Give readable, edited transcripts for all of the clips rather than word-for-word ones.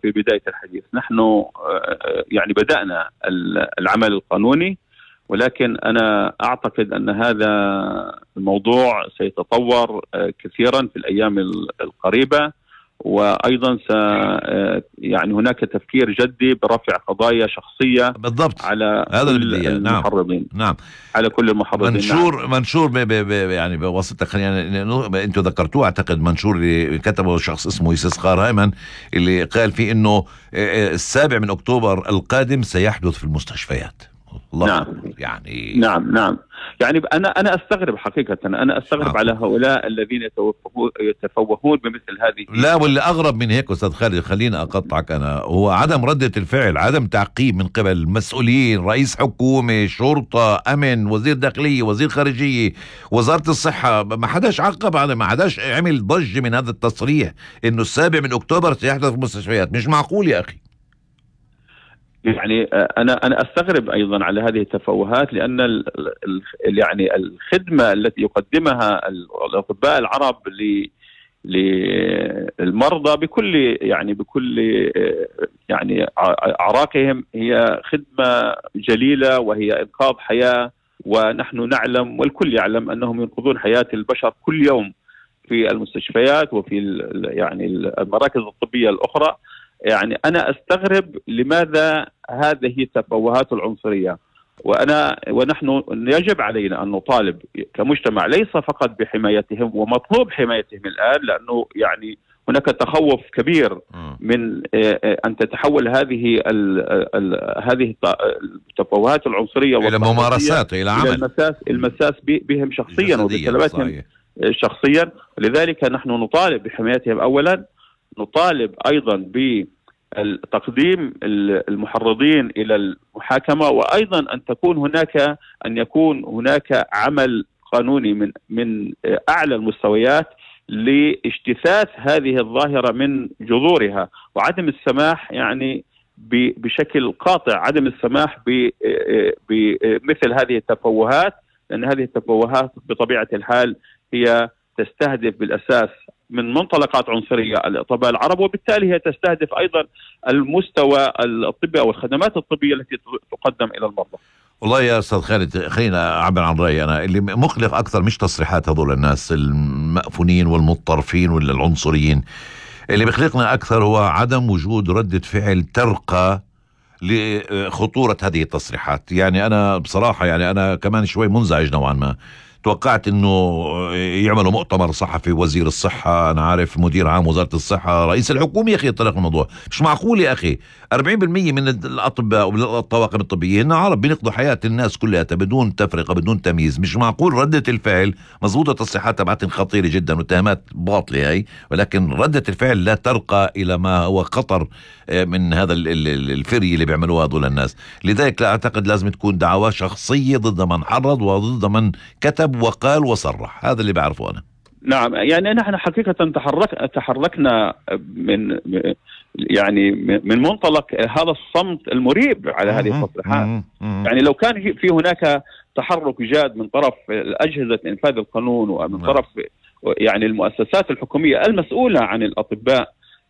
في بداية الحديث، نحن يعني بدأنا العمل القانوني، ولكن أنا أعتقد أن هذا الموضوع سيتطور كثيرا في الأيام القريبة، وأيضا يعني هناك تفكير جدي برفع قضايا شخصية بالضبط على كل المحرضين. نعم. على كل المحرضين. منشور يعني بواسطة، خلينا انتوا ذكرتوه، اعتقد منشور اللي كتبه شخص اسمه يسسخار هيمن، اللي قال فيه انه 7 أكتوبر القادم سيحدث في المستشفيات. نعم. نعم يعني أنا أستغرب حقيقة، أنا أستغرب على هؤلاء الذين يتفوهون بمثل هذه. لا، واللي أغرب من هيك أستاذ خالد، خلينا أقطعك أنا، هو عدم ردة الفعل، عدم تعقيب من قبل المسؤولين، رئيس حكومة، شرطة، أمن، وزير داخلية، وزير خارجية، وزارة الصحة. ما حداش عقب على، ما حداش عمل ضجة من هذا التصريح إنه 7 أكتوبر سيحدث في المستشفيات. مش معقول يا أخي. يعني أنا أستغرب أيضا على هذه التفوهات، لأن يعني الخدمة التي يقدمها الأطباء العرب للمرضى بكل يعني أعراقهم هي خدمة جليلة، وهي إنقاذ حياة، ونحن نعلم والكل يعلم أنهم ينقذون حياة البشر كل يوم في المستشفيات وفي يعني المراكز الطبية الأخرى. يعني أنا أستغرب لماذا هذه التفوهات العنصرية، ونحن يجب علينا أن نطالب كمجتمع ليس فقط بحمايتهم، ومطلوب حمايتهم الآن، لأنه يعني هناك تخوف كبير من أن تتحول هذه التفوهات العنصرية إلى ممارسات، إلى عمل، المساس بهم شخصيا وبسلامتهم شخصيا. لذلك نحن نطالب بحمايتهم أولا، نطالب أيضا بتقديم المحرضين إلى المحاكمة، وأيضا أن يكون هناك عمل قانوني من أعلى المستويات لاجتثاث هذه الظاهرة من جذورها، وعدم السماح يعني بشكل قاطع، عدم السماح بمثل هذه التفوهات، لأن هذه التفوهات بطبيعة الحال هي تستهدف بالأساس من منطلقات عنصرية الأطباء العرب، وبالتالي هي تستهدف أيضا المستوى الطبي أو الخدمات الطبية التي تقدم إلى المرضى. والله يا أستاذ خالد، خلينا أعبر عن رأيي أنا. اللي مقلق أكثر مش تصريحات هذول الناس المأفونين والمتطرفين ولا العنصريين، اللي بيقلقنا أكثر هو عدم وجود ردة فعل ترقى لخطورة هذه التصريحات. يعني أنا بصراحة يعني أنا كمان شوي منزعج نوعا ما. توقعت انه يعملوا مؤتمر صحفي، وزير الصحة، انا عارف مدير عام وزارة الصحة، رئيس الحكومة، يا اخي يطرق الموضوع. مش معقول يا اخي 40% من الاطباء والطواقم الطبية هن عرب بينقذوا حياة الناس كلها بدون تفرقة بدون تمييز. مش معقول ردة الفعل مزبوطة، تصريحات تبعتهم خطيرة جدا واتهامات باطلة هاي، ولكن ردة الفعل لا ترقى الى ما هو خطر من هذا الفري اللي بيعملوه هذول الناس. لذلك لا اعتقد لازم تكون دعوة شخصية ضد من حرض وضد من كتب وقال وصرح. هذا اللي بعرفه أنا. نعم، يعني نحن حقيقة تحركنا من منطلق هذا الصمت المريب على هذه التصريحات. يعني لو كان في هناك تحرك جاد من طرف أجهزة إنفاذ القانون ومن طرف يعني المؤسسات الحكومية المسؤولة عن الأطباء،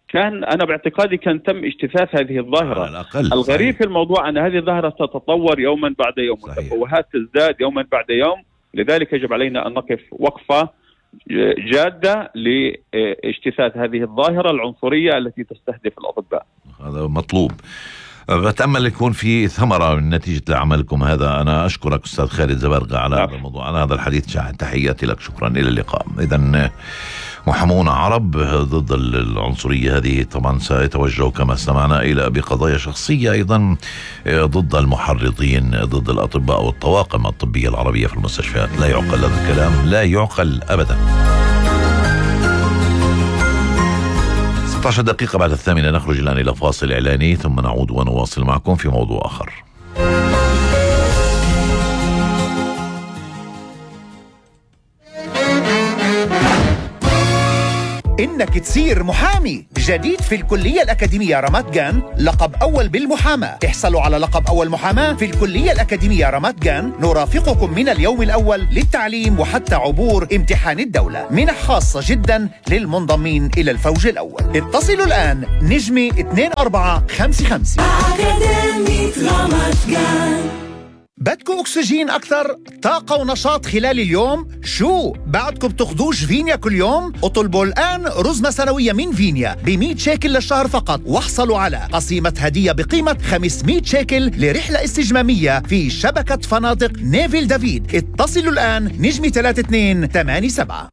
كان أنا باعتقادي كان تم اجتثاث هذه الظاهرة. الغريب في الموضوع أن هذه الظاهرة تتطور يوما بعد يوم، والتفوهات تزداد يوما بعد يوم. لذلك يجب علينا أن نقف وقفة جادة لاجتثاث هذه الظاهرة العنصرية التي تستهدف الأطباء. هذا مطلوب. بتأمل يكون في ثمرة من نتيجة لعملكم هذا. أنا أشكرك أستاذ خالد زبرقة على هذا الموضوع، على هذا الحديث. تحياتي لك، شكرا، إلى اللقاء. إذن محامون عرب ضد العنصرية هذه طبعا سيتوجهوا كما سمعنا إلى بقضايا شخصية أيضا ضد المحرضين، ضد الأطباء والطواقم الطبية العربية في المستشفيات. لا يعقل هذا الكلام، لا يعقل أبدا. 16 دقيقة بعد 8 نخرج الآن إلى فاصل إعلاني، ثم نعود ونواصل معكم في موضوع آخر. إنك تصير محامي. جديد في الكلية الأكاديمية رامات جان، لقب أول بالمحاماة. احصلوا على لقب أول محاماة في الكلية الأكاديمية رامات جان. نرافقكم من اليوم الأول للتعليم وحتى عبور امتحان الدولة. منح خاصة جدا للمنضمين إلى الفوج الأول. اتصلوا الآن نجمة 2455. بدكم أكسجين أكثر؟ طاقة ونشاط خلال اليوم؟ شو؟ بعدكم بتاخدوش فينيا كل يوم؟ اطلبوا الآن رزمة سنوية من فينيا ب100 شيكل للشهر فقط، واحصلوا على قسيمة هدية بقيمة 500 شيكل لرحلة استجمامية في شبكة فنادق نيفيل دافيد. اتصلوا الآن نجمة 3287.